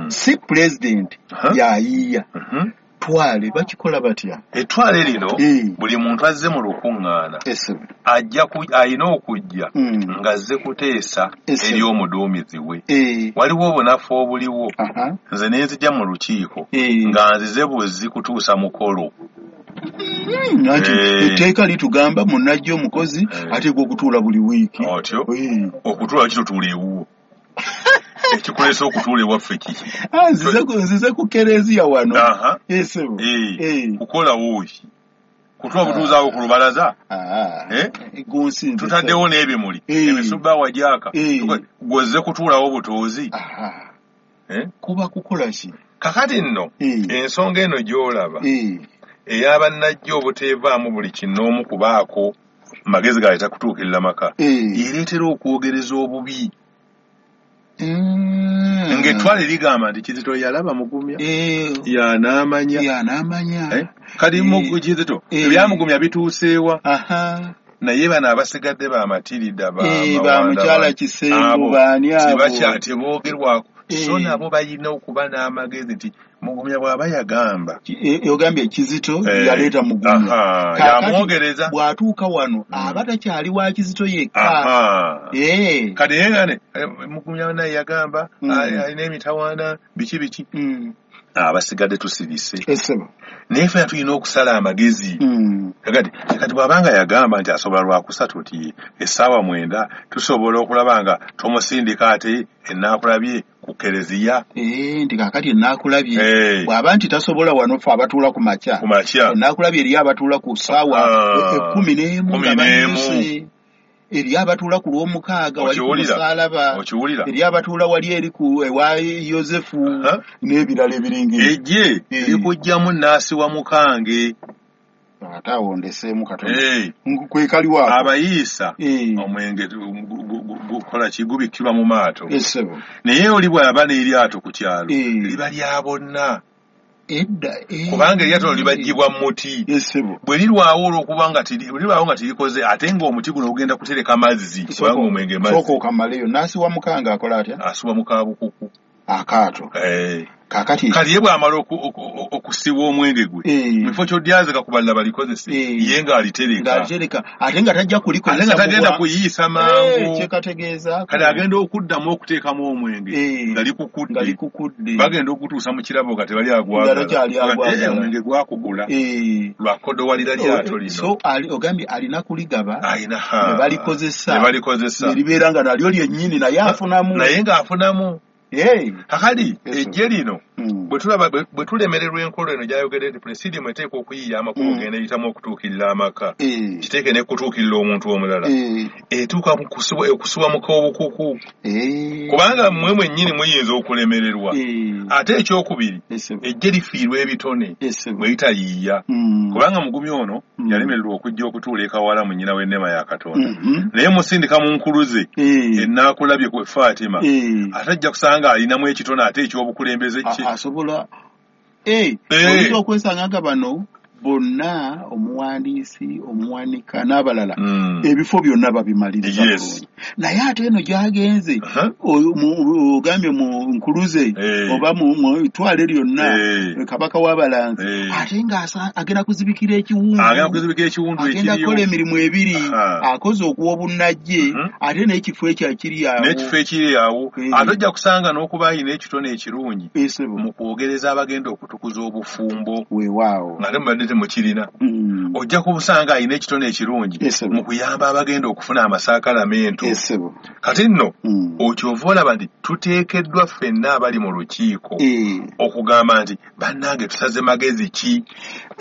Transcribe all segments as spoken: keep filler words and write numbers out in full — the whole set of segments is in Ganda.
Si pulezidenti yayiiya. Twale bakikola batya? Ettwale lino buli muntu azze mu lukuŋŋaana ajja alina okujja ng'azze kuteesa eri omuduumizi we. Waliwo obunafu obuliwo. Nze ne nzija mu lukiiko nga nzize buzzi kutuusa mukolo. Etteeka litugamba munnajja omukozi ateekwa okutuula buli wiiki. Otyo okutuula kitutuula ewuwo. Ekikuleesa okutuula ewaffe kiki? Nzize ku kereziya wano. Kukolawo ki? Kutuula butuuzaawo ku lubalaza? Tutaddewo n'ebimuli, emisubbaawa gyaka, gw'ozze kutuulawo butuuzi. Kuba kukola ki? Kakati nno ensonga eno gy'olaba ey'abannajja obuteevaamu buli kinnoomu kubaako magezi galeeta kutuukirira maka, ereetera okwogereza obubi. Ng'ettwale ligamba nti Kizito yalaba Mugumya, yanaamanya, kati Kizito ebyamugumya bituuseewa. Naye bano abasigadde bamatirida bamukyala Kisembo baani abo teboogerwako. So nabo balina okuba n'amagezi nti Mugumya bw'aba yagamba, ogambye Kizito yaleeta Mugumya, yamwogereza, bw'atuuka wano aba takyali wa Kizito yekka. Kati yegane Mugumya naye yagamba alina emitawaana biki biki, abasigadde tusirise. Naye ffena tulina okusala amagezi. Kati kati bw'abanga yagamba nti asobola lwakusatu ti essaawa mwenda tusobola okulaba nga tomusindika ate enaakulabye ku kereziya. Nti kaakati enaakulabye bw'aba nti tasobola wano ffe abatuula ku makya, enaakulabye eriyo abatuula ku ssaawa ekkumi n'emu nga banyuse, eri abatuula ku lw'omukaaga wali ku musaalaba, eri abatuula wali eri ku ewa Yosefu n'ebirala ebiringa. Ejje likujjamu nnaasi wa mukange. Ate awo ndeseemu katono. Kwekaliwo ako. Abayiisa omwenge gukola ki, gubikkirwa mu maato. Naye oli bw'aba n'eryato ku kyalo liba lya bonna. Kubanga eryato libaggyibwa mu muti. Bwe lirwawo olw'okuba nga lirwawo nga tirikoze, ate ng'omuti guno gugenda kutereka mazzi, kubanga omwenge mazzi. Sooka okamaleyo. Nnaasi wa mukanga akola atya? Asuba mu kabukuku. Akaato. Kakati kati ye bw'amala okusiba omwenge gwe mu kifo ky'odyazika ku balala balikozese, ye ng'alitereka. Ng'alitereka ate nga tajja kulikozesa, ate nga tagenda kuyiisa mangu. Kyekategeeza kati agenda okuddamu okuteekamu omwenge nga likukudde, nga likukudde. Bagenda okutuusa mu kirabo nga tebali agwagala, omwenge gwakugula lwakodowalira lyato lino. So ogambye alina kuligaba, ne balikozesa, ne balikozesa ne libeera nga nalyo lyennyini, naye afunamu, naye ng'afunamu. Kakati ejje lino bwe tulemererwa enkola eno gy'ayogedde nti presidium eteekwa okuyiiya amakubo genda eyitamu okutuukirira amaka, kiteeke n'ekutuukirira omuntu omulala, etuuka okusibwa mu k'obukuku, kubanga mmwe mwennyini muyinza okulemererwa. Ate ekyokubiri, ejje lifiirwa ebitone bwe litayiiya, kubanga Mugumya ono yalemererwa okujja okutuula e Kawala mu nnyina w'enneema ya Katonda, naye musindika mu nkuluze enaakulabye ku Fatima, ate ajja kusanga alinamu ekitone ate ekyobukulembeze kye asobola. Oyinza okwesanga nga bano bonna omuwandiisi, omuwanika n'abalala ebifo byonna babimaliriza bulungi, naye ate eno gy'agenze ogambye mu nkuluze oba mu ttwale lyonna kabaka w'abalanzi, ate nga agenda kuzibikira ekiwundu, agenda kukola emirimu ebiri, akoze okuwa obunnajje ate n'ekifo ekyo ekiri awo, n'ekifo ekiri awo. Ate ojja kusanga n'okuba alina ekitone ekirungi mu kwogereza abagenda okutukuza obufumbo. Weewaawo ate mubadde temukirina. Ojja kubusanga alina ekitone ekirungi mu kuyamba abagenda okufuna amasaakalamentu. Kati nno okyova olaba nti tuteekeddwa ffenna abali mu lukiiko okugamba nti bannange tusaze magezi ki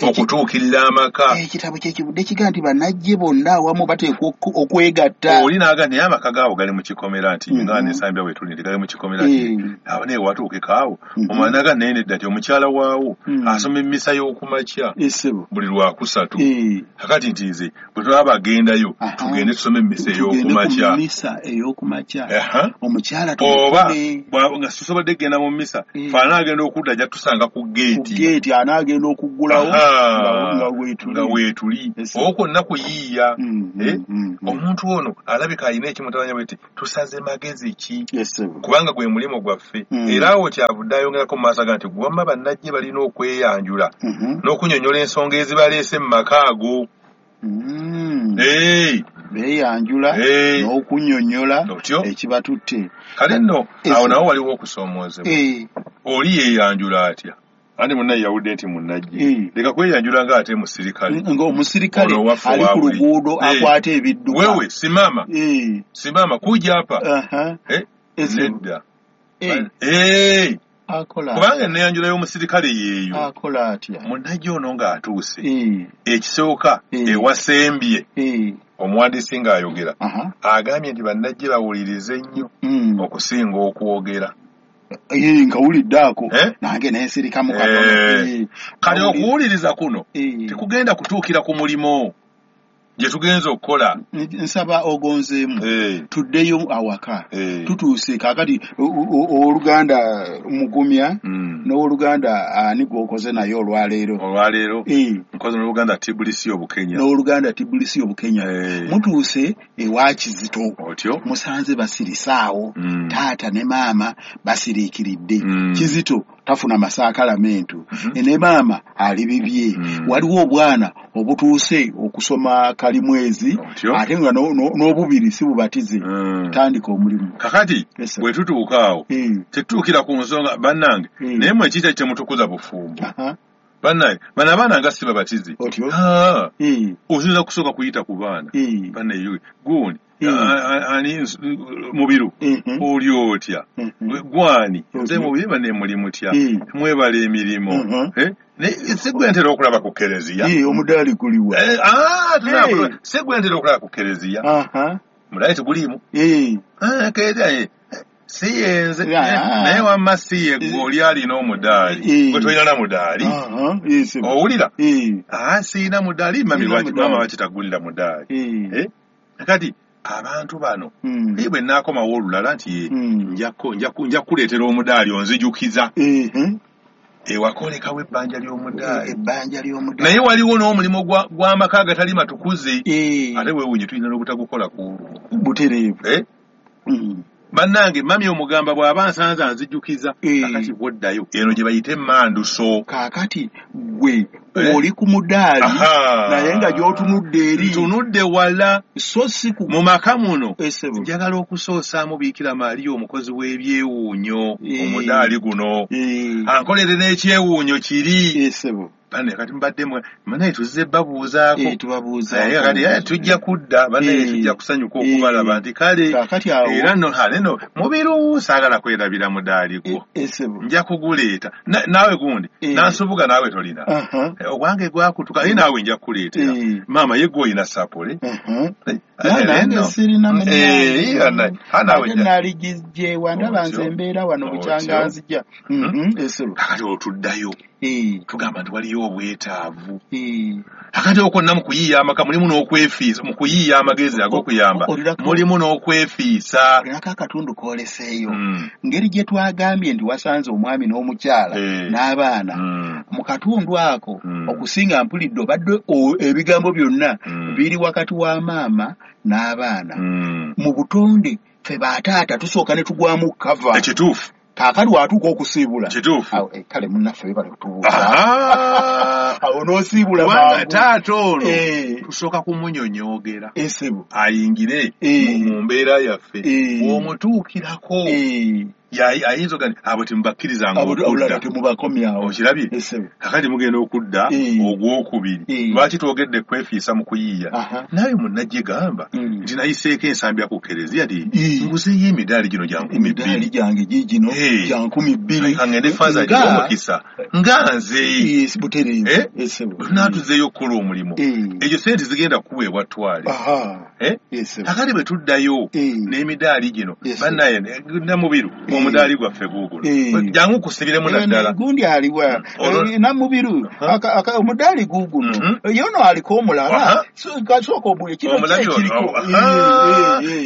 okutuukirira amaka. Ekitabo kyekivudde kiga nti bannajje bonna awamu bateekwa okwegatta. Oli n'aga naye amaka gaabo gali mu kikomera nti nga nesambya bwe tuli nti gali mu kikomera nti awo naye watuukeko awo. Omwana aga naye nedda nti omukyala waawo asoma emmisa y'okumakya Buli lwakusatu. Kakati nti nze bwe tulaba bagendayo tugende tusome emmisa ey'okumakya. Misa ey'okumakya. Omukyala oba nga tusobodde kugenda mu misa, fe anaagenda okudda ajja tusanga ku geeti. Ku geeti anaagenda okuggulawo nga weetuli. Nga weetuli. Okwo kwonna kuyiiya. Omuntu ono alabika alina ekimutabanya bwe ti tusaze magezi ki? Kubanga gwe mulimu gwaffe. Era awo kyavudde ayongerako mu maaso aga nti wamma bannajje balina okweyanjula n'okunnyonnyola ensonga ezibaleese mu maka ago. Beeyanjula n'okunnyonnyola ekibatutte. Kale nno awo nawo waliwo okusoomoozebwa. Oli yeeyanjula atya? Andi munnaye yawudde nti munnajje. Leka kweyanjula ng'ate musirikale. Ng'omusirikale ali ku luguudo akwata ebidduka. Wewe simama. Simama kuja hapa. Nedda. Kubanga enneeyanjula y'omusirikale yeeyo. Akola atya? Munnajje ono ng'atuuse. Ekisooka ewasembye. Omuwandiisi ng'ayogera. Agambye nti bannajje bawulirize nnyo okusinga okwogera. Nkawulidde ako nange nensirikamu katono. Kale okuwuliriza kuno tekugenda kutuukira ku mulimu gye tugenza okukola. Nsaba ogonzeemu tuddeyo awaka. Tutuuse kaakati owooluganda Mugumya n'owooluganda ani gw'okoze naye olwaleero. Olwaleero nkoze n'oluganda Tibulisi Obukenya. N'oluganda Tibulisi Obukenya. Mutuuse ewa Kizito. Otyo. Musanze basirise awo. Taata ne maama basiriikiridde. Kizito tafuna masakalamentu. Ne maama ali bibye. Waliwo obwana obutuuse okusoma kalimwezi ate nga n'obubiri si bubatize. Tandika omulimu. Kakati bwe tutuuka awo tetutuukira ku nsonga bannange naye mmwe kiki kyemutukuza bufumbo. Bannange bano abaana nga si babatize. Oyinza kusooka kuyita ku baana. Bannaye gundi ani Mubiru oli otya? Gwani nze Mubiru banne muli mutya? Mwebala emirimu. Si gwe ntera okulaba ku kereziya. Omudaali guliwa? Si gwe ntera okulaba ku kereziya. Mudaali teguliimu. Si yenze naye wamma si ye gwe oli alina omudaali. Gwe tolina na mudaali. Owulira? Siina mudaali mami lwaki maama lwaki tagulira mudaali? Kati abantu bano naye bwe nnaakomawo olulala nti nja kukuleetera omudaali onzijukiza. Ewakolekawo ebbanja ly'omudaali. Ebbanja ly'omudaali. Naye waliwo n'omulimu gw'amaka agatali matukuze. Ate weewuunye tulina n'obutagukola ku olwo. Butereevu. Bannange mami omugamba bw'aba nsanze anzijukiza. Kakati bw'oddayo eno gye bayita emmanduso. Kaakati gwe oli ku mudaali naye nga gy'otunudde eri. Ntunudde wala. So si ku mu maka muno. Njagala okusoosaamu Biikira Maria omukozi w'ebyewuunyo omudaali guno. Ankolere n'ekyewuunyo kiri. Banne kati mbadde mwe tuzze babuuzaako. Tubabuuzaako. Kati tujja kudda banne tujja kusanyuka okubalaba nti kale era nno kale nno Mubiru saagala kwerabira mudaali gwo. Nja kuguleeta. Naawe gundi nansubuga naawe tolina. Ogwange gwakutuka naye naawe nja kukuleetera. Maama ye gwe olina sapole. Nange sirina mudaali. Ate naligijjewa ndaba nze embeera wano bukyanga nzija. Kakati otuddayo. Tugamba nti waliyo obwetaavu. Akati okwonna mu kuyiiya amaka mulimu n'okwefiisa, mu kuyiiya amagezi ag'okuyamba mulimu n'okwefiisa. Olinako akatundu k'oleseeyo. Ngeri gye twagambye nti wasanze omwami n'omukyala n'abaana mu katundu ako okusinga mpulidde obadde ebigambo byonna biri wakati wa maama n'abaana. Mu butonde ffe bataata tusooka ne tugwamu kava. Ekituufu. Kaakati watuuka okusiibula. Kituufu. Kale munnaffe webale kutubuuza. Awo n'osiibula mangu. Taata ono tusooka kumunyonyoogera. Ayingire mu mbeera yaffe. Bw'omutuukirako ayinza ogamba nti abo temubakkirizanga okudda. Temubakomyawo. Okirabye? Kaakati mugenda okudda ogwokubiri. Lwaki twogedde kwefiisa mu kuyiiya? Naawe munnajje gamba nti nayiseeko ensambya ku kereziya nti nguzeeyo emidaali gino gya nkumi bbiri. Emidaali gyange giigino gya nkumi bbiri. Ka ngende Faaza agiwe omukisa nga nze. Butereevu. Bwe tunaatuzeeyo okukola omulimu, ezo sente zigenda kuweebwa twale. Kakati bwe tuddayo n'emidaali gino, bannaye, Namubiru, omudaali gwaffe guuguno, jangu kusibiremu naddala. Gundi aliwa? Namubiru, omudaali guuguno, yono aliko omulala, kasooka obuli kino kiriko.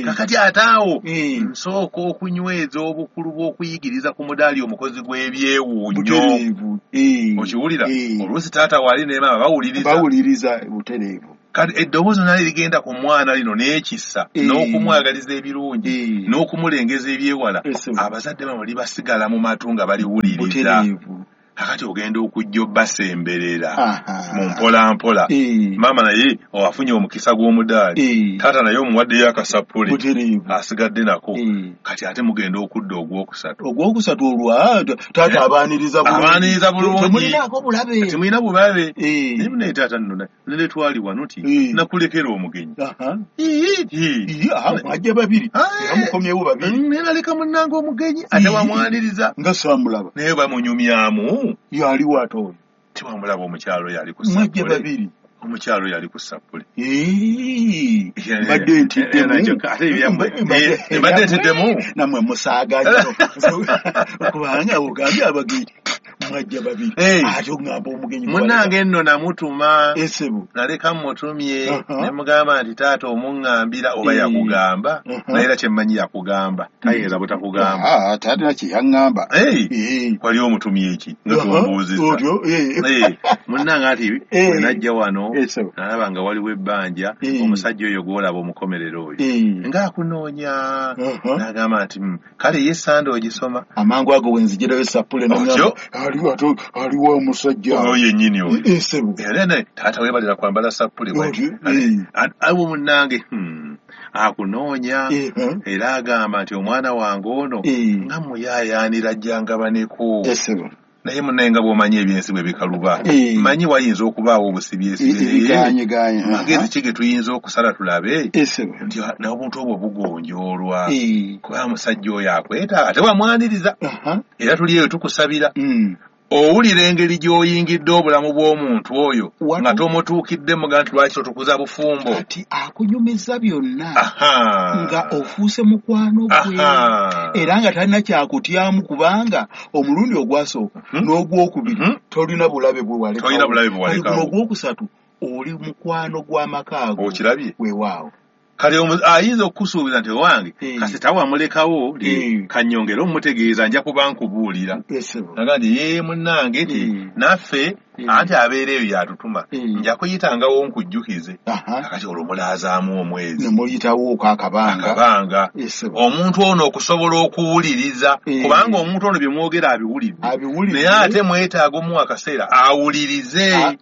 Kakati ate awo nsooka okunyweza obukulu bw'okuyigiriza ku mudaali omukozi gw'ebyewuunyo. Okiwulira? Oluusi taata waali ne maama bawuliriza. Bawuliriza butereevu. Kati eddoboozi nali ligenda ku mwana lino n'ekisa n'okumwagaliza ebirungi n'okumulengeza ebyewala, abazadde bano libasigala mu matu nga baliwuliriza. Kakati ogenda okujja obbasemberera mu mpola mpola, maama naye afunye omukisa gw'omudaali, taata naye omuwaddeyo akasapule asigadde nako. Kati ate mugenda okudda ogwokusatu. Ogwokusatu olwa taata abaaniriza bulungi, temulinaako bulabe, temulina bulabe. Naye taata nno nene twali wano ti nakulekera omugenyi, mwajja babiri era mukomyewo babiri, naleka munnange omugenyi ate wamwaniriza nga saamulaba, naye bamunyumyamu. Yali wato oyo tiwamulaba, omukyalo yali ku mwajja babiri, omukyalo yali ku sappule. Mbadde ntiddemu, mbadde ntiddemu, nammwe musaaga nnyo kubanga ogambye abagenyi mwajja babiri, ate oŋŋamba omugenyi. Munnange nno namutuma, naleka mmutumye ne mugamba nti taata omuŋŋambira oba yakugamba, naye era kyemmanyi yakugamba, tayinza butakugamba. Taata kye yaŋŋamba wali omutumye eki nga tumbuuzizza munnange ati bwe najja wano nalaba nga waliwo ebbanja, omusajja oyo gw'olaba omukomerero oyo ng'akunoonya, n'agamba nti kale ye Sande ogisoma. Amangu ago wenzigirayo sappule aliwo omusajja oyo yennyini oyo era naye taata weebalira kwambala sappule awo munnange akunoonya, era agamba nti omwana wange ono nga muyaayaanira ajjangabaneko. Naye munnaye nga bw'omanyi ebyensi bwe bikaluba, manyi wayinza okubaawo obusibyesibe, magezi ki ge tuyinza okusala tulabe nti n'obuntu obwo bugonjoolwa, kuba musajja oyo akwetaaga ate wamwaniriza, era tuli eyo tukusabira. Owulira engeri gy'oyingidde obulamu bw'omuntu oyo nga tomutuukidde, muga nti lwaki totukuza bufumbo. Kati akunyumiza byonna nga ofuuse mukwano gwe, era nga talina kyakutyamu kubanga omulundi ogwasooka n'ogwokubiri tolina bulabe bwe walekawo, ogwokusatu oli mukwano gw'amaka ago. Okirabye? Weewaawo. Kale ayinza okukusuubiza nti owange kasita wamulekawo kannyongere omutegeeza nja kuba nkubuulira. Naga nti ye munnange nti naffe anti abeera eyo yatutuma, nja kuyitangawo nkujjukize. Kakati olwo mulaazaamu omwezi ne muyitawooko akabanga akabanga omuntu ono okusobola okuwuliriza, kubanga omuntu ono bye mwogera abiwulidde, naye ate mwetaaga omuwa akaseera awulirize.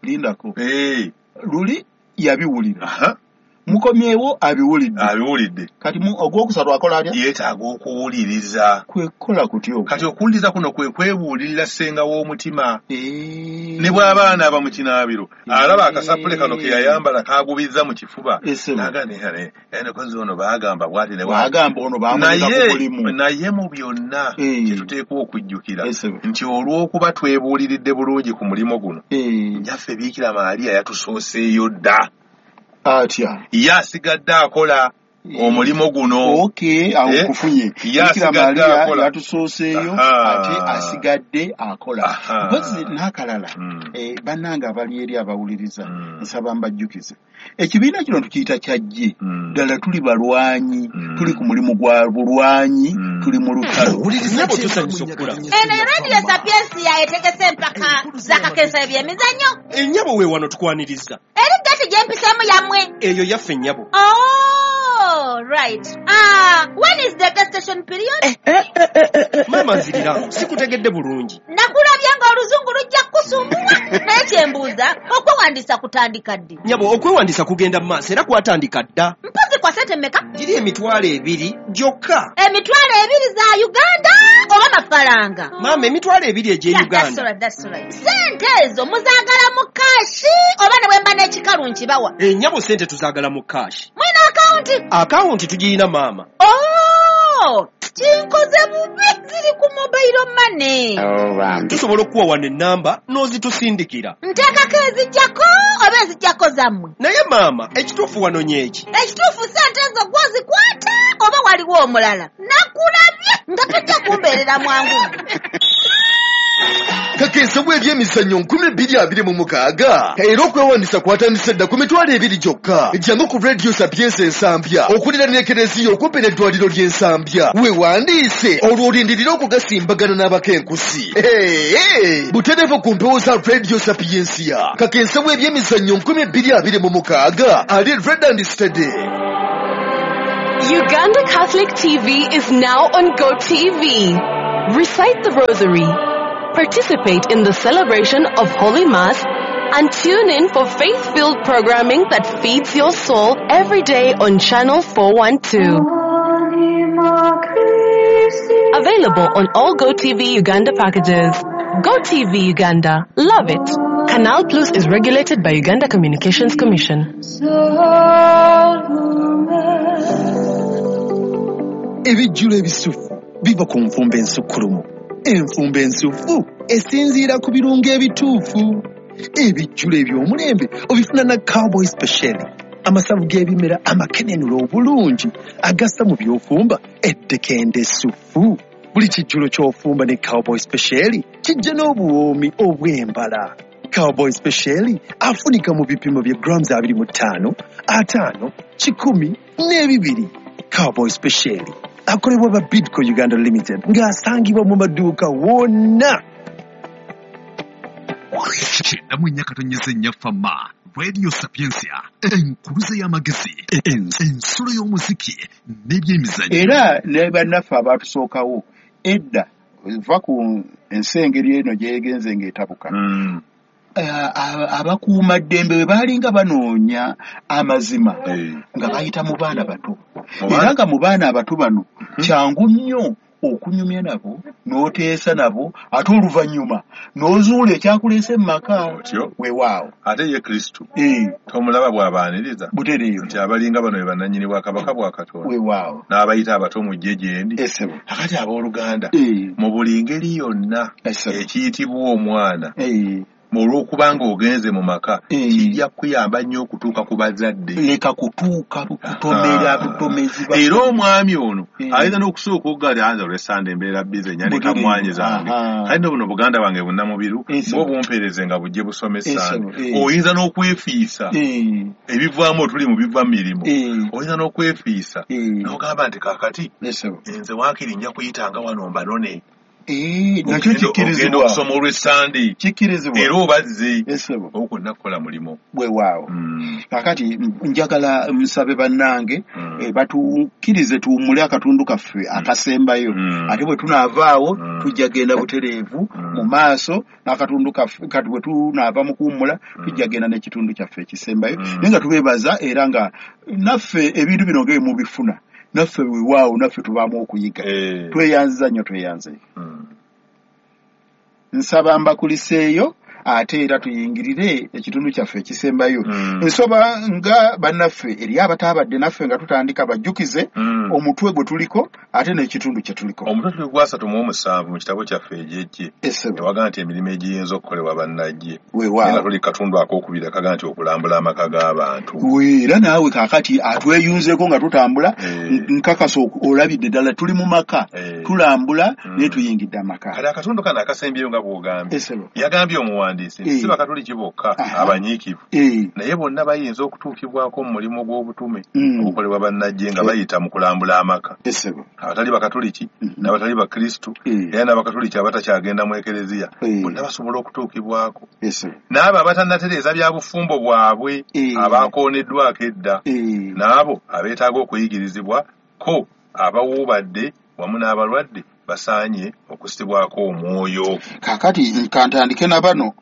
Lindako luli yabiwulira, mukomyewo abiwulidde, abiwulidde. Kati ogwokusatu akola atya? Yeetaaga okuwuliriza. Kwekola kutyo. Kati okuwuliriza kuno kwe kwebuulirira ssenga w'omutima. Ne bw'abaana aba mu kinaabiro alaba akasapule kano ke yayambala kaagubizza mu kifuba, naga ono baagamba bw'ati ne baagamba ono baamuleka ku mulimu. Naye mu byonna kye tuteekwa okujjukira nti olw'okuba twebuuliridde bulungi ku mulimu guno, Nnyaffe Biikira Maria yatusooseeyo dda. Atya? Ye asigadde akola omulimu guno. Okay, awo kufunye. Bikira Maria yatusooseeyo ate asigadde akola. Mpozi n'akalala, bannange abali eri abawuliriza, nsaba mbajjukize. Ekibiina kino tukiyita kyajje. Ddala tuli balwanyi, tuli ku mulimu gwa bulwanyi, tuli mu lutalo. Eno Radio Sapiensia etegese empaka z'akakensa eby'emizannyo. Ennyabo we wano tukwaniriza. Eri gati gye mpiseemu yammwe. Eyo yaffe nnyabo. Oh, right. Ah, when is the gestation period? Eh, eh, eh, eh, eh. Mama nzirira, sikutegedde bulungi. Nakulabye ng'oluzungu lujja kukusumbuwa. Naye kye mbuuza, okwewandiisa kutandika ddi? Nnyabo, okwewandiisa kugenda mu maaso era kwatandika dda. Mpozi kwa ssente mmeka? Giri emitwalo ebiri gyokka. Emitwalo ebiri za Uganda oba mafaranga? Mama, emitwalo ebiri egy'e Uganda. That's all right, that's all right. Ssente ezo muzaagala mu kaashi oba ne bwe mba n'ekikalu nkibawa? Ennyabo, ssente tuzaagala mu kaashi. Mwina akawunti? Akawunti tugiyina maama. Oh, kinkoze bubi, ziri ku mobile Mobile money. Oh, tusobola okuwa wano ennamba n'ozitusindikira. Nteekako ezijjako oba ezijjako zammwe? Naye maama, ekituufu wano nyeeki. Ekituufu ssente ezo gw'ozikwata oba waliwo omulala? Nakulabye nga tojja kumbeerera mwangu. Kakensa bw'ebyemizannyo nkumi bbiri abiri mu mukaaga era okwewandiisa kwatandise dda ku mitwalo ebiri gyokka. Jangu ku Radio Sapienza Ensambya okuliraana Ekereziya okumpi n'eddwaliro ly'Ensambya, weewandiise olwo olindirire okugasimbagana n'abakenkusi. Butereevu ku mpewo za Radio Sapiensia. Kakensa bw'ebyemizannyo nkumi bbiri abiri mu mukaaga ali red and steady. Uganda Catholic T V is now on GoTV. Recite the Rosary. Participate in the celebration of Holy Mass and tune in for faith-filled programming that feeds your soul every day on Channel four one two. Available on all GoTV Uganda packages. GoTV Uganda. Love it. Canal Plus is regulated by Uganda Communications Commission. Ebijjulo ebisufu biva ku nfumba ensukkulumu. Enfumba ensufu esinziira ku birungo ebituufu. Ebijjulo eby'omulembe obifuna na Cowboy Special, amasavu g'ebimera amakenenula obulungi agassa mu by'ofumba eddekende essufu. Buli kijjulo ky'ofumba ne Cowboy Special kijja n'obuwoomi obw'embala. Cowboy Special afunika mu bipimo bya grams abiri mu ttaano, ataano, kikumi n'ebibiri. Cowboy Special akolebwa ba Bidco Uganda Limited ng'asangibwa mu maduuka wonna. Kyenda mu nnya katonyeze nnya Fama, Radio Sapientia, enkuluze y'amagezi, ensulo y'omuziki n'ebyemizannyo. Era ne bannaffe abaatusookawo edda va ku ensi engeri eno gyegenze ng'etabuka. Mm. Abakuumaddembe bwe baalinga banoonya amazima nga bayita mu baana bato, era nga mu baana abato bano kyangu nnyo okunyumya nabo n'oteesa nabo, ate oluvannyuma n'ozuula ekyakuleese mu maka. Weewaawo. Ate ye Kristo tomulaba bw'abaaniriza butereevu nti abalinga bano be bannannyini bwa Kabaka bwa Katonda. Weewaawo. N'abayita abato mujje gye ndi. Akati abooluganda, mu buli ngeri yonna ekiyitibwa omwana olw'okubanga ogenze mu maka kijja kuyamba nnyo okutuuka ku bazadde. Leka kutuuka kutomera butomezi. Era omwami ono ayinza n'okusooka okugaali anze olw'essande embeera bize nyanika mmwanyi zange, kale nno buno buganda bwange bunnamubiru bwo bumpeereze nga bujje busome essande. Oyinza n'okwefiisa ebivaamu otuli mu biva mu mirimu, oyinza n'okwefiisa n'ogamba nti kaakati nze waakiri nja kuyitanga wano mbanone. Nakyo kikkirizibwa okusoma olw'essande, kikkirizibwa era obazze okwo nnakukola mulimu. Weewaawo. Kaakati njagala nsabe bannange batukkirize tuwummule akatundu kaffe akasembayo, ate bwe tunaavaawo tujja genda butereevu mu maaso n'akatundu kaffe. Kati bwe tunaava mu kuwummula tujja genda n'ekitundu kyaffe ekisembayo, naye nga tubeebaza era nga naffe ebintu bino nga mubifuna naffe weewaawo naffe tubaamu okuyiga. Tweyanziza nnyo, tweyanze. Nsaba mbakuliseeyo ate era tuyingirire ekitundu kyaffe ekisembayo. Nsaba nga bannaffe eri abataabadde naffe nga tutandika bajjukize omutwe gwe tuliko ate n'ekitundu kye tuliko. Omutwe tuli gwa asatu mu omusanvu mu kitabo kyaffe egy'eggye ewaga nti emirimu egiyinza okukolebwa bannajje. Weewaawo. Tuli katundu akookubiri akaga nti okulambula amaka g'abantu. Era naawe kaakati atweyunzeeko nga tutambula, nkakasa olabidde ddala tuli mu maka tulambula naye tuyingidde amaka. Kale akatundu kano akasembyeyo nga bw'ogambye yagambye omuwandiisi si bakatuliki bokka abanyiikivu, naye bonna bayinza okutuukibwako mu mulimu gw'obutume ogukolebwa bannajje nga bayita mu kulambula amaka. Abatali bakatuliki n'abatali bakristu era n'abakatuliki abatakyagenda mu ekereziya bonna basobola okutuukibwako. N'abo abatannatereeza bya bufumbo bwabwe abakooneddwako edda, n'abo abeetaaga okuyigirizibwa ko abawuubadde wamu n'abalwadde basaanye okussibwako omwoyo. Kaakati kantandike na bano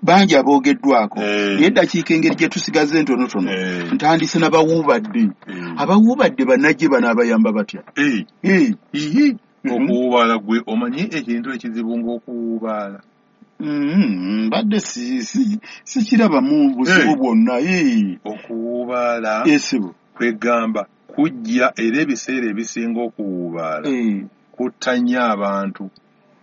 bangi aboogeddwako, naye eddakiika engeri gye tusigaze entonotono ntandise n'abawuubadde. Abawuubadde bannajje bano abayamba batya? Okuwuubaala gwe omanyi ekintu ekizibu ng'okuwuubaala? Mbadde sikirabamu buzibu bwonna. Okuwuubaala kwegamba kujja era ebiseera ebisinga okuwuubaala kutta nnyo abantu.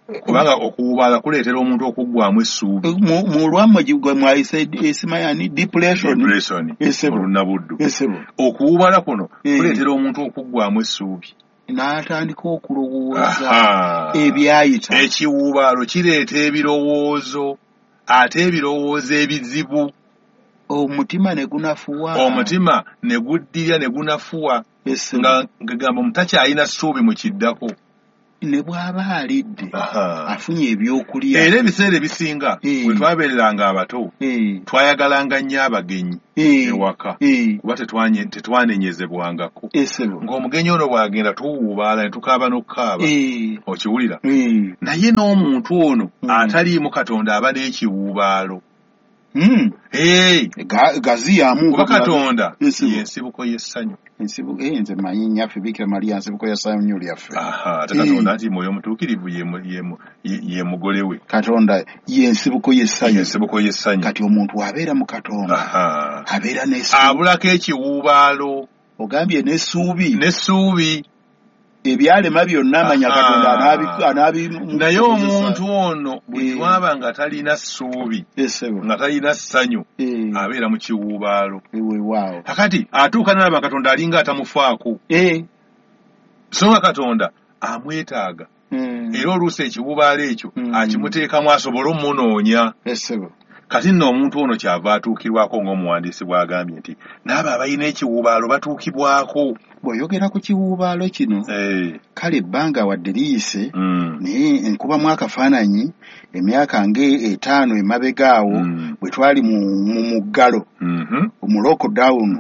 Kubanga okuwubaala kuleetera omuntu okuggwamu essuubi. Mu lwammwe gwe mwayise esimayani depression. Depression. Mu Lunnabuddu. Okuwubaala kuno kuleetera omuntu okuggwamu essuubi. N'atandika okulowooza ebyayita. Ekiwuubaalo kireeta ebirowoozo, ate ebirowoozo ebizibu. Omutima ne gunafuwa. Omutima ne guddirya ne gunafuwa. Nga ngamba omuntu takyalina ssuubi mu kiddako. Ne bw'aba alidde afunye ebyokulya. Era ebiseera ebisinga bwe twabeereranga abato twayagalanga nnyo abagenyi ewaka kuba tetwanenyezebwangako. Ng'omugenyi ono bw'agenda tuwuubaala ne tukaaba n'okukaaba, okiwulira. Naye n'omuntu ono ataliimu Katonda aba n'ekiwuubaalo. Gaziyamu. Kuba Katonda y'ensibuko y'essanyu. Ensibuko nze mmanyi nnyaffe Bikira Maria nsibuko ya ssanyu lyaffe. Ate Katonda nti Mwoyo Mutuukirivu ye mugole we. Katonda y'ensibuko y'essanyu. Y'ensibuko y'essanyu. Kati omuntu abeera mu Katonda abeera n'essuubi. Abulako ekiwuubaalo. Ogambye n'essuubi. N'essuubi. Ebyalema byonna amanya Katonda anaabi. Naye omuntu ono buli lw'aba nga talina ssuubi, nga talina ssanyu, abeera mu kiwuubaalo. Kakati atuuka n'alaba Katonda alinga atamufaako. So nga Katonda amwetaaga. Era oluusi ekiwuubaalo ekyo akimuteekamu asobole omunoonya. Kati nno omuntu ono kyava atuukirwako ng'omuwandiisi bw'agambye nti n'abo abalina ekiwuubaalo batuukibwako. Bw'oyogera ku kiwuubaalo kino, kale ebbanga wadde liyise, naye nkubamu akafaananyi emyaka ng'etaano emabega awo bwe twali mu muggalo, mu lockdown,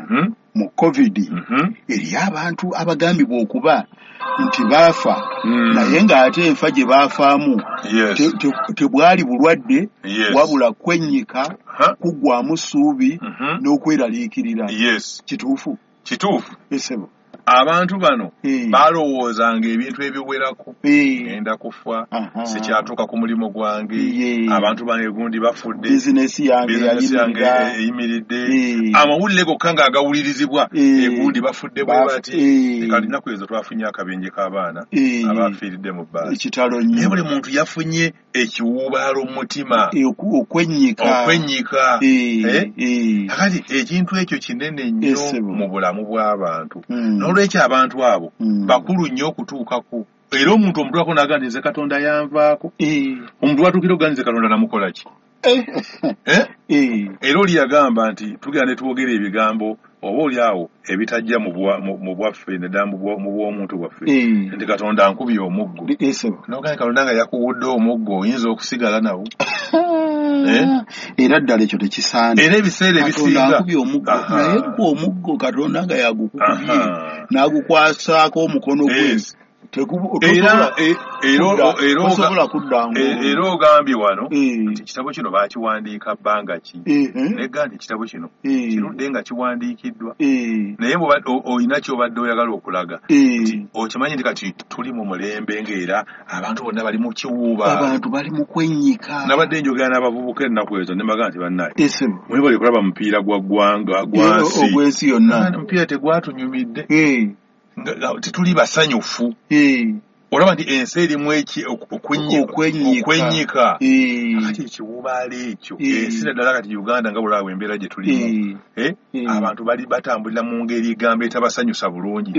mu COVID, eriyo abantu abagambibwa okuba nti baafa, naye ng'ate enfa gye baafaamu tebwali bulwadde, wabula kwennyika, kuggwamu ssuubi n'okweraliikirira. Kituufu? Kituufu. Abantu bano balowoozanga ebintu ebiwerako. Ngenda kufa, sikyatuuka ku mulimu gwange, abantu bange gundi bafudde, bizinesi yange eyimiridde, amawulire gokka ng'agawulirizibwa egundi bafudde bwe bati. Kati ennaku ezo twafunye akabenje k'abaana abafiiridde mu bbaasi. Kitalo nnyo. Naye buli muntu yafunye ekiwuubaalo mu mutima, okwennyika. Okwennyika. Kakati ekintu ekyo kinene nnyo mu bulamu bw'abantu. N'olwekyo abantu abo bakulu nnyo okutuukako. Era omuntu omutwako n'agamba nti nze Katonda yanvaako. Omuntu watuukira okugamba nze Katonda namukola ki? Era oli yagamba nti tugenda ne twogera ebigambo oba oli awo ebitajja mu bwaffe naddala mu bw'omuntu bwaffe nti Katonda ankubye omuggo. N'ogamba Katonda nga yakuwudde omuggo oyinza okusigala nawo. Era ddala ekyo tekisaana. Era ebiseera ebisinga Katonda ankubye omuggo, naye gwe omuggo Katonda nga yagukubye n'agukwasaako omukono gwe. Era ogambye wano nti ekitabo kino baakiwandiika bbanga ki? Negga nti ekitabo kino kirudde nga kiwandiikiddwa, naye olina ky'obadde oyagala okulaga nti okimanyi nti kati tuli mu mulembe ng'era abantu bonna bali mu kiwuubaalo, abantu bali mu kwennyika. Nabadde njogera n'abavubuka ennaku ezo ne mbagamba nti bannaye mwebale kulaba mupiira gwa ggwanga gwansi ogw'ensi yonna, omupiira tegwatunyumidde, tetuli basanyufu. Olaba nti ensi erimu okwennyika. Kati ekiwuubaalo ekyo ensi naddala kati Uganda nga bulaba embeera gye tulimu, abantu bali batambulira mu ngeri egamba etabasanyusa bulungi.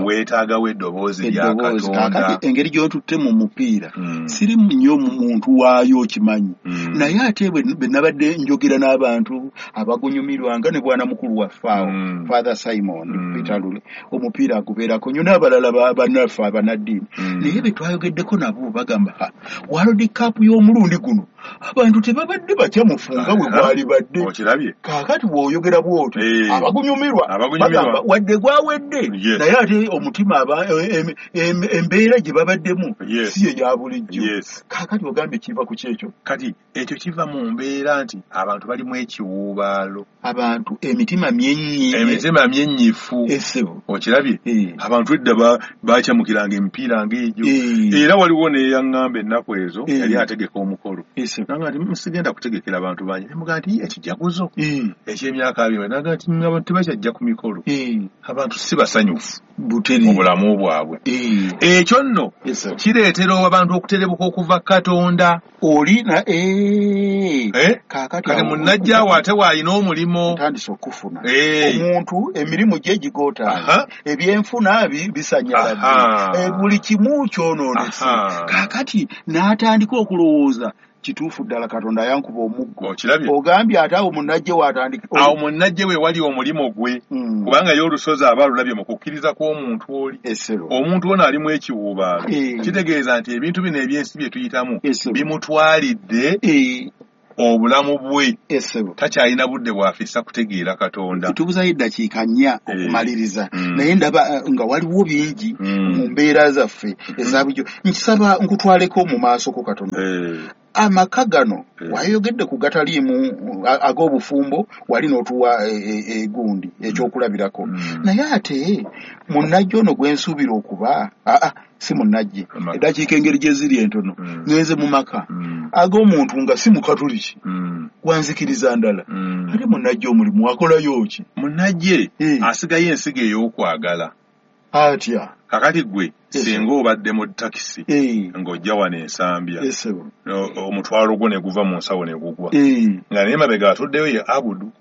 Weetaagawo eddoboozi lya Katonda. Engeri gy'otutte mu mupiira siri nnyo muntu waayo okimanyi, naye ate bwe nabadde njogera n'abantu abagunyumirwanga ne bwana mukulu waffe awo Father Simon Peter Lule, omupiira agubeerako nnyo n'abalala bannaffe abannaddiini. Naye be twayogeddeko nabo bagamba World Cup y'omulundi guno abantu tebabadde bakyamufu nga bwe gwali badde. Kaakati bw'oyogera bw'otyo abagunyumirwa bagamba wadde gwawedde, naye ate omutima embeera gye babaddemu si ye ya bulijjo. Kaakati ogambye kiva ku kyekyo. Kati ekyo kiva mu mbeera nti abantu balimu ekiwuubaalo, abantu emitima myenyi, emitima myenyifu. Okirabye abantu edda bakyamukiranga emipiira ng'egyo. Era waliwo neyaŋŋamba ennaku ezo yali ategeka omukolo Nanga nti musigenda kutegekera abantu bangi. Nemugamba nti ekijaguzo eky'emyaka abiri. Nanga nti abantu tebakyajja ku mikolo. Abantu si basanyufu mu bulamu bwabwe. Ekyo nno kireetera abantu okuterebuka okuva Katonda. Oli na eh kati munnajjaawo ate waalina omulimu. Ntandise okufuna. Omuntu emirimu gye gigotaana. Ebyenfuna bisanyaladde. Buli kimu kyonoonese. Kaakati n'atandika okulowooza kituufu ddala Katonda yankuba omuggo. Ogambye ate awo munnajje w'atandika. Awo munnajje we wali omulimu gwe. Kubanga ye olusozi aba alulabye mu kukkiriza kw'omuntu oli. Omuntu ono alimu ekiwuubaalo. Kitegeeza nti ebintu bino ebyensi bye tuyitamu bimutwalidde obulamu bwe. Takyalina budde bw'afissa kutegeera Katonda. Tubuzayo eddakiika nnya okumaliriza. Naye ndaba nga waliwo bingi mu mbeera zaffe eza bulijjo. Nkisaba nkutwaleko mu maaso ko katono. Amaka gano wayogedde ku gataliimu ag'obufumbo wali n'otuwa egundi ekyokulabirako. Naye ate munnajje ono gwe nsuubira okuba aa si munnajje eddakiika engeri gye ziri entono ngenze mu maka ag'omuntu nga si mukatuliki gwanzikiriza ndala ate munnajje omulimu akolayo ki? Munnajje asigayo ensigo ey'okwagala. Atya? Kakati gwe singa obadde mu takisi ng'ojja wano Ensambya omutwalo gwo ne guva mu nsawo ne gugwa nga naye mabega atuddeyo ye Abudu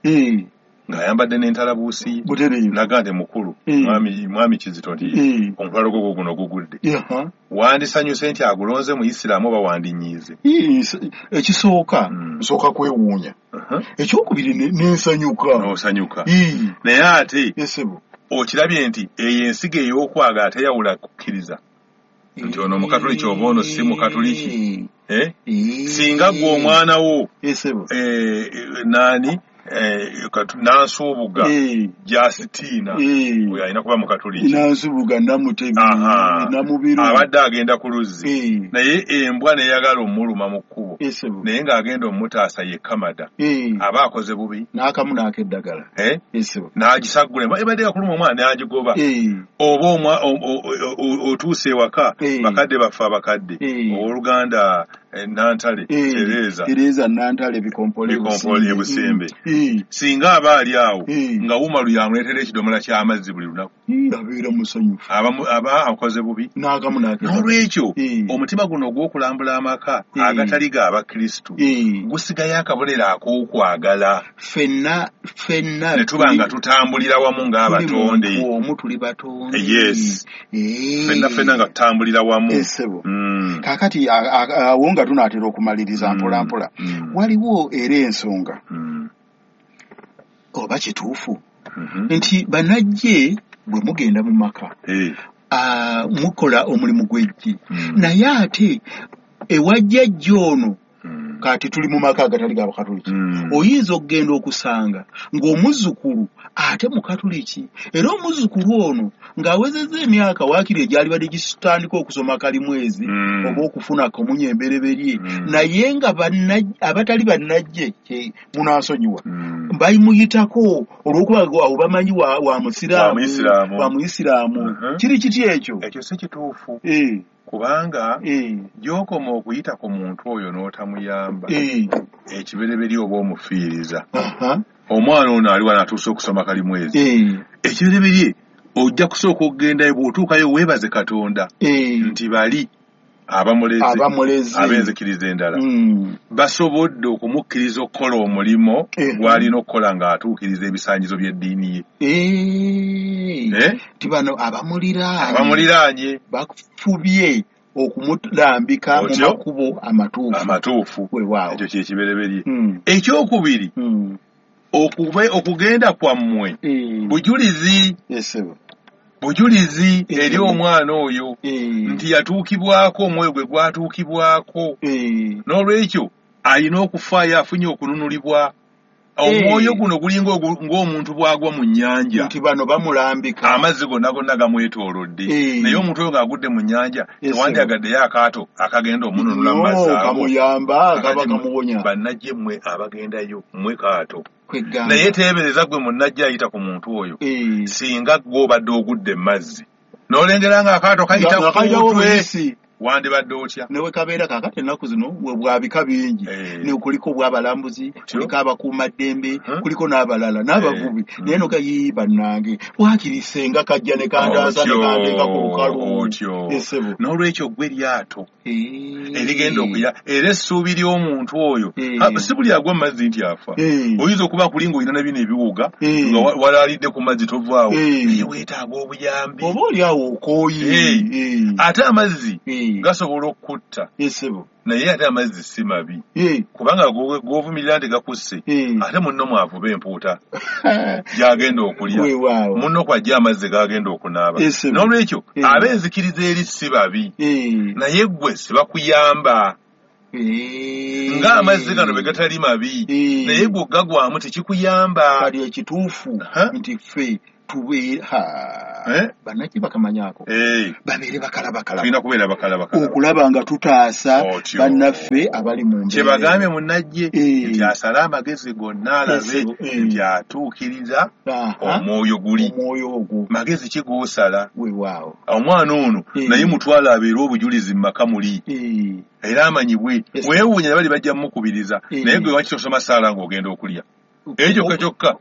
ng'ayambadde n'entalabuusi ye naga nti mukulu mwami Kizito nti omutwalo gwo guno gugudde wandisanyuse nti agulonze mu Isiraamu oba wandinyiize? Ekisooka nsooka kwewuunya, ekyokubiri nensanyuka. N'osanyuka. Naye ate okirabye nti eyo ensigo ey'okwagala teyawula kukkiriza nti ono mukatuliki oba ono si mukatuliki. Singa gwe omwana wo naani Nansubuga Justina oyo alina kuba mukatuliki. Nansubuga Namutebi Namubiru abadde agenda ku luzzi naye embwa neyagala omuluma mu kkubo naye ng'agenda omutaasa ye Kamada aba akoze bubi n'akamu n'akeddagala n'agisaggula embwa ebadde yakuluma omwana n'agigoba oba otuuse ewaka bakadde baffe abakadde owooluganda Nantale Tereza Tereza Nantale Bikompole Bikompole Busembe singa aba ali awo nga Umaru yamuleetera ekidomola ky'amazzi buli lunaku abeera musanyufu aba akoze bubi n'akamu n'akeddagala. N'olwekyo omutima guno ogw'okulambula amaka agatali ga Abakristu gusigayo akabonero ak'okwagala. Ffenna ffenna ne tuba nga tutambulira wamu ng'abatonde omu tuli batonde. Yes, ffenna ffenna nga tutambulira wamu. Kaakati awo nga tunaatera okumaliriza mpola mpola waliwo era ensonga oba kituufu nti bannajje bwe mugenda mu maka mukola omulimu gw'eggi naye ate ewajjajja ono kati tuli mu maka agatali ga Bakatuliki oyinza okugenda okusanga ng'omuzzukulu ate mukatuliki era omuzzukulu ono ng'awezezza emyaka waakiri egyalibadde gitandika okusoma kalimwezi oba okufuna komunye embereberye naye nga abatali bannajje munansonyiwa bayimuyitako olw'okuba awo bamanyi wa musiraamu wa muyisiraamu. Kiri kiti ekyo? Ekyo si kituufu kubanga gy'okoma okuyita ku muntu oyo n'otamuyamba ekibereberye oba omufiiriza. Omwana ono ali wano atuuse okusoma kalimwezi ekibereberye ojja kusooka okugendayo bw'otuukayo weebaze Katonda nti bali abamulezi ab'enzikiriza endala basobodde okumukkiriza okukola omulimu gw'alina okukola ng'atuukiriza ebisaanyizo by'eddiini ye. Nti bano abamuliraanye bafubye okumulambika mu makubo amatuufu amatuufu. Ekyo kye kibereberye. Ekyokubiri okugenda kwammwe bujulizi bujulizi eri omwana oyo nti yatuukibwako omwoyo gwe gwatuukibwako n'olwekyo alina okufaayo afunye okununulibwa. Omwoyo guno gulinga ng'omuntu bw'agwa mu nnyanja nti bano bamulambika amazzi gonna gonna gamwetoolodde naye omuntu oyo ng'agudde mu nnyanja tewandyagaddeyo akaato akagenda omununula mu mazzi ago kamuyamba kaba kamuwonya. Bannajje mmwe abagendayo mmwe kaato naye teebereza gwe munnajje ayita ku muntu oyo singa gwe obadde ogudde mu mazzi n'olengera ng'akaato kayita ku mutwe Wandibadde otya? Ne kabeera kaakati ennaku zino bwa bika bingi. Ne kuliko obw'abalambuzi, kuliko abakuumaddembe, kuliko n'abalala n'abavubi. Naye no gayi bannange waakiri ssenga kajja ne kandaasa ne kanteeka ku lukalu. Otyo. N'olwekyo ggwe eryato erigenda okuya era essuubi ly'omuntu oyo si buli agwa mu mazzi nti afa. Oyinza okuba kuli ng'olina ne bino ebiwuga nga walaalidde ku mazzi tovaawo, naye weetaaga obuyambi. Oba oli awo okooye. Ate amazzi gasobola okukutta. Naye ate amazzi si mabi kubanga g'ovumirira nti gakusse, ate munno mwavuba empuuta gy'agenda okulya, munno kw'ajja amazzi g'agenda okunaaba. N'olwekyo ab'enzikiriza eri si babi, naye ggwe si bakuyamba. Ng'amazzi gano bwe gatali mabi, naye ggwe gagwamu tekikuyamba. Kali ekituufu nti ffe tubeere bannaki bakamanyaako babeere bakalabakalaba, tulina kubeera bakalabakalaba okulaba nga tutaasa bannaffe abali mu mbeera. Kye bagambye munnajje nti asale amagezi gonna alabe nti atuukiriza omwoyo guli. Omwoyo ogwo magezi ki g'osala? Weewaawo. Omwana ono naye mutwale abeere obujulizi mu maka muli era amanyibwe. Weewuunya bali bajja mukubiriza, naye gwe lwaki tosoma ssaala ng'ogenda okulya? Ekyo kyokka kyokka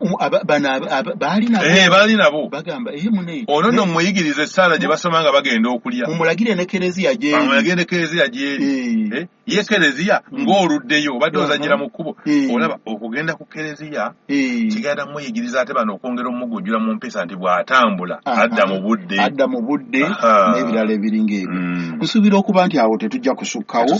baali nabo bagamba eh mune ono nno muyigirize essaala gye basoma nga bagenda okulya, mumulagire ne kereziya gy'eri, mumulagire ne kereziya gy'eri. Ye kereziya ng'oluddeyo obadde ozannyira mu kkubo, olaba okugenda ku kereziya kigenda muyigiriza ate bano okwongera omugunjula mu mpisa nti bw'atambula adda mu budde, adda mu budde n'ebirala ebiringa ebyo. Nsuubira okuba nti awo tetujja kusukkawo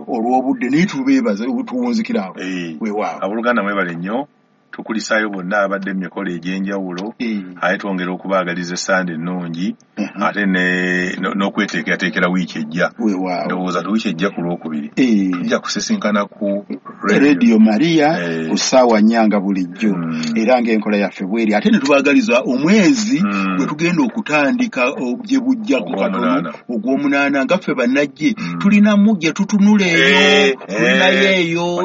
olw'obudde, naye tubeebaza tuwunzikira awo. Weewaawo. Abooluganda mwebale nnyo, tukulisaayo bonna abadde mu mikolo egy'enjawulo, ate twongera okubaagaliza essande ennungi ate n'okweteekerateekera wiiki ejja. Ndowooza ti wiiki ejja ku Lwokubiri tujja kusisinkana ku Radio Maria ku ssaawa nnya nga bulijjo, era ng'enkola yaffe bweri. Ate ne tubaagaliza omwezi gwe tugenda okutandika gye bujjako katono ogw'omunaana, nga ffe bannajje tulinamu gye tutunula eyo, tulinayo eyo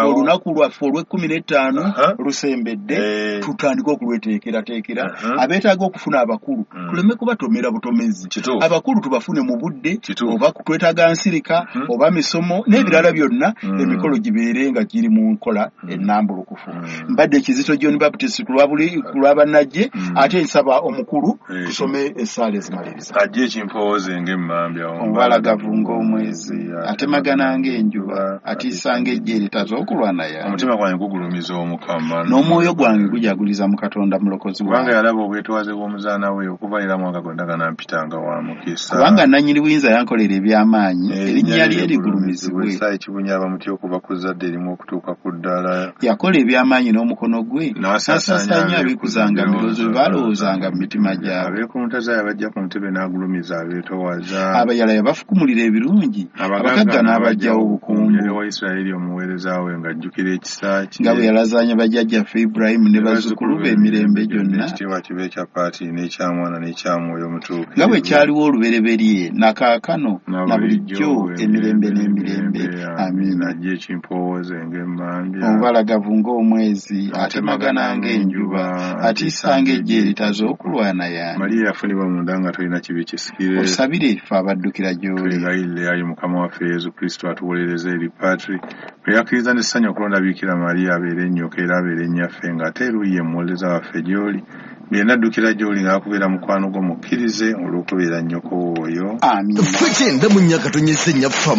olunaku lwaffe olw'ekkumi n'ettaano lusembedde, tutandike okulweteekerateekera. Abeetaaga okufuna abakulu tuleme kubatomera butomezi, abakulu tubafune mu budde, oba twetaaga nsirika oba misomo n'ebirala byonna, emikolo gibeere nga giri mu nkola ennambulukufu. Mbadde Kizito John Baptist ku lwa bannajje, ate nsaba omukulu tusome essaala ezimaliriza. Ajje ekimpooze ng'emmambya, omubalagavu ng'omwezi, atemagana ng'enjuba, atiisa ng'eggye eritaza okulwana yange. Omutima gwange gugulumiza Omukama, n'omwoyo gwange gujaguliza mu Katonda mulokozi wange. Kubanga yalaba obwetwaze bw'omuzaana we okuva era mwaka gwonna ganampitanga wa mukisa. Kubanga nannyini buyinza yankolera eby'amaanyi, erinnya lye ligulumizibwe. Essa ekibunya abamuti okuva ku zzadde erimu okutuuka ku ddala. Yakola eby'amaanyi n'omukono gwe, n'asaasaanya abikuzanga mu birowoozo bye balowoozanga mu mitima gyabwe. Abeekuntaza yabajja ku ntebe n'agulumiza abeetoowaza. Abayala yabafukumulira ebirungi, abagagga n'abaggyawo obukumbu. Yali wa Isirayiri omuweereza we ng'ajjukira ekisa kye. Nga bwe yalazaanya bajjajjaffe Ibulayimu ne bazzukulu be emirembe gyonna. Ekitiibwa kibe ekya Paatiri n'ekya Mwana n'ekya Mwoyo Mutuukirivu. Nga bwe kyaliwo olubereberye na kaakano na bulijjo emirembe n'emirembe. Amiina. Ajje ekimpoowoze ng'emmambya, omubalagavu ng'omwezi, atemagana ng'enjuba, atiisa ng'eggye eritaza okulwana yange. Mariya yafunibwa munda nga tolina kibi kisikire. Osabire ffe abaddukira gy'oli. Twegayirire ayi Mukama waffe Yesu Kristo atuwolereze eri Patri bwe yakkiriza n'essanyu okulonda Biikira Mariya abeere ennyoko era abeere nnyaffe, ng'ate eruuyi ye muwolereza waffe gy'oli. Byonna addukira gy'oli ng'akubeera mukwano gwo mukkirize olw'okubeera nnyoko oyo. Amiina. Ffe kyenda mu nnya katonyeze nnyaffe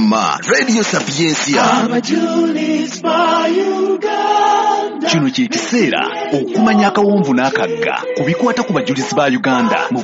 Radio Sapientia. Abajulizi ba Uganda. Kino kye kiseera okumanya akawonvu n'akagga ku bikwata ku bajulizi ba Uganda mu